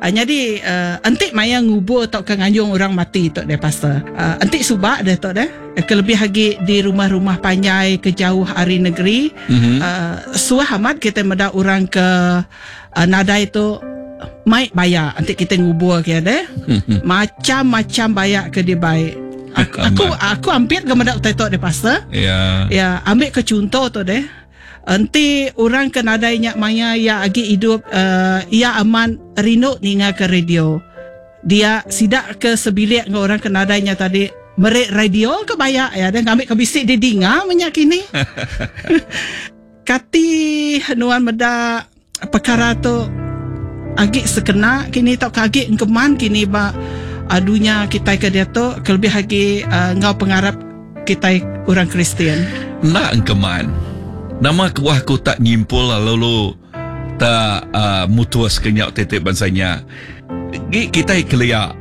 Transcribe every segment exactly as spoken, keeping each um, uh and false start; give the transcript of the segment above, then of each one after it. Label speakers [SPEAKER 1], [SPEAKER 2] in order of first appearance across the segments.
[SPEAKER 1] Uh, jadi uh, enti maya ngubur tau ke nganjung orang mati tu deh pastor. Uh, enti subak deh tu deh kelebih lagi di rumah-rumah panjai ke jauh ari negeri mm-hmm. uh, suah amat kita meda orang ke uh, nadai tu mai bayak enti kita ngubur ke deh. Mm-hmm. Macam-macam bayak ke dibai. Aku aku, aku hampir ke meda utai tu deh pastor.
[SPEAKER 2] Ya.
[SPEAKER 1] Ya, ambil ke contoh tu deh. Enti orang ke nadai nyak maya ia agi hidup uh, ia aman rindu ninga ke radio. Dia sidak ke sebilik dengan orang ke nadai nya tadi merik radio ke bayak ya dan ngambil ke bisik di dinga menyak kini. Kati nuan meda perkara tu agi sekena kini tau ke agi engkeman kini ba uh, dunia kita ke dia tu kelebih agi uh, ngau pengarap kita orang Kristian.
[SPEAKER 2] Nak engkeman. Nama kebuah aku tak nyimpul lalu tak uh, mutus kenyak titik bangsanya. Gi kita kelia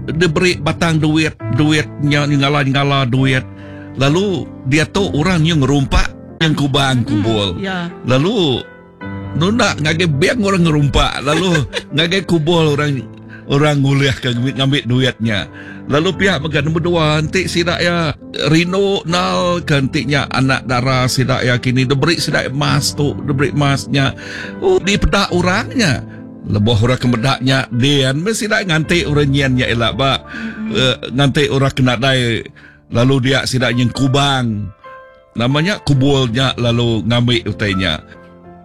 [SPEAKER 2] diberi batang duit, duitnya ngala-ngala duit. Lalu dia tu orang yang ngerumpak yang kubang kubul.
[SPEAKER 1] Mm, yeah.
[SPEAKER 2] Lalu nunda ngagai biang orang ngerumpak, lalu ngagai kubul orang orang nguliah ke ngambil duitnya. Lalu pihak megan nombor dua nanti sidak ya rino nal kentiknya anak dara sidak ya kini diberi sidak emas tu, diberi emasnya. Oh dipedak orangnya. Leboh orang kemedaknya dian mesti sidak nganti orang nyiannya elak ba. Mm-hmm. Uh, nganti orang kena dai lalu dia sidak yang kubang. Namanya kubulnya lalu ngambil utainya.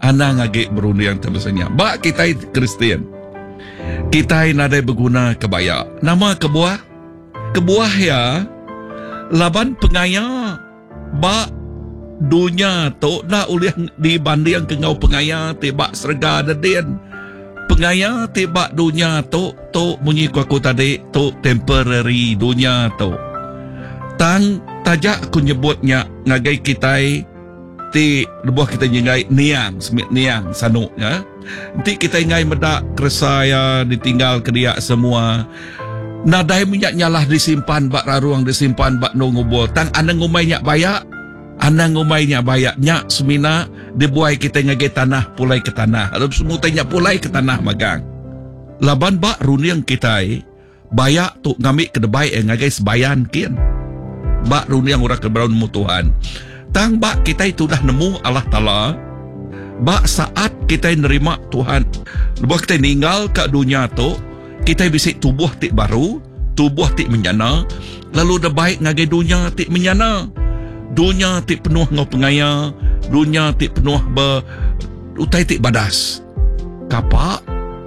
[SPEAKER 2] Anang agi berunding terbesarnya. Ba kita Kristian. Kita nadai berguna kebaya. Nama kebuah? Kebuah ya laban pengaya ba dunia tu dah ulih dibanding ke ngau pengaya ti ba serega dedin. Pengaya ti ba dunia tu tu munyi ku aku tadi tu temporary dunia tu. Tang tajak aku nyebutnya ngagai kita ti lebuh kita nyengai niang semit niang sanuk ya. Nanti kita ngai medak keresaya ditinggal ke dia semua. Nadai minyak nyalah disimpan bak raruang disimpan bak no ngubur. Tang anang ngumai nyak bayak, anang ngumai nyak bayak nyak semina dibuai kita ngagai tanah pulai ke tanah. Lalu semua tanya pulai ke tanah magang. Laban bak runiang kita bayak tu ngambil ke debai eh ngagai sebayan kian. Bak runiang orang ke nemu Tuhan. Tang bak kita itu dah nemu Allah Ta'ala. Bak saat kita nerima Tuhan, lebuh kita ninggal ke dunia tu, kita bisik tubuh tik baru, tubuh tik menyana, lalu dah baik ngagai dunia tik menyana. Dunia tik penuh ngau pengaya, dunia tik penuh ber utai tik badas. Kapak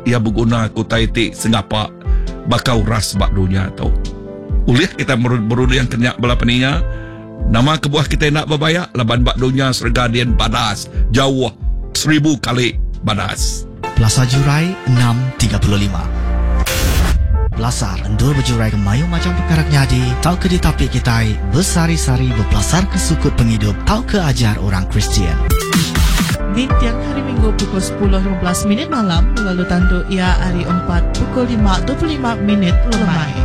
[SPEAKER 2] ia berguna ku utai tik sengapak bakau ras bak dunia tu. Ulih kita berunding kenyak bala peninga. Nama kebuah kita nak berbayak laban bak dunia serga dian badas jauh seribu kali badas.
[SPEAKER 3] Plaza Jurai enam tiga puluh lima. Pelasar endur berjurai ke mayu macam perkara nyadi tau ke ditapik kita bersari-sari berpelasar ke sukut penghidup tau ke ajar orang Kristian.
[SPEAKER 4] Di tiang hari Minggu pukul sepuluh lima belas minit malam lalu tanduk ia hari empat pukul lima dua puluh lima minit lemai.